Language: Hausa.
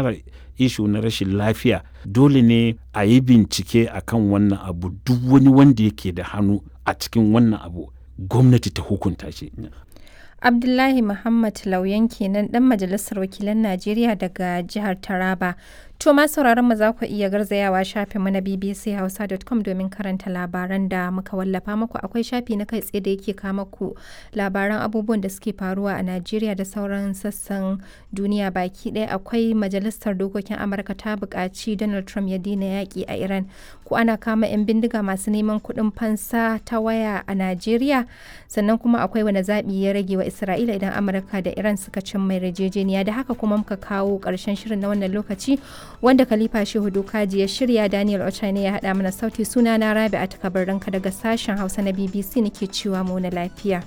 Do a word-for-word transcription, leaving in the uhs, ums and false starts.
fara ishu na rashin lafiya, dole ne a yi bincike akan wannan abu. Duk wani wanda yake da hannu a cikin wannan abu, gwamnati ta hukunta shi. Abdullahi Muhammad Lauyan kenan, dan Majalisar Wakilan Najeriya daga jihar Taraba. To ma sauraron mu, za ku iya garzayawa shafin mu na B B C Hausa dot com domin karanta labaran da muka wallafa muku. Akwai shafi na kai tsaye da yake kama ku labaran abubuwan da suke faruwa a Najeriya da sauran sassan duniya baki ɗaya. Akwai Majalisar Dokokin Amurka ta buƙaci Donald Trump ya daina yaƙi a Iran. Ko ana kama 'yan bindiga masu neman kuɗin fansa ta waya a Najeriya. Sannan kuma akwai wani zaɓi ya rage wa Isra'ila idan Amurka da Iran suka cimma yarjejeniya. Da haka kuma muka kawo ƙarshen shirin na wannan lokaci, wanda Khalifa Shehu Dokaji ya shirya, Daniel Ochai ya haɗa mana sauti. Suna na Rabi'a Takabarranka daga sashen Hausa na B B C nake cewa mu na lafiya.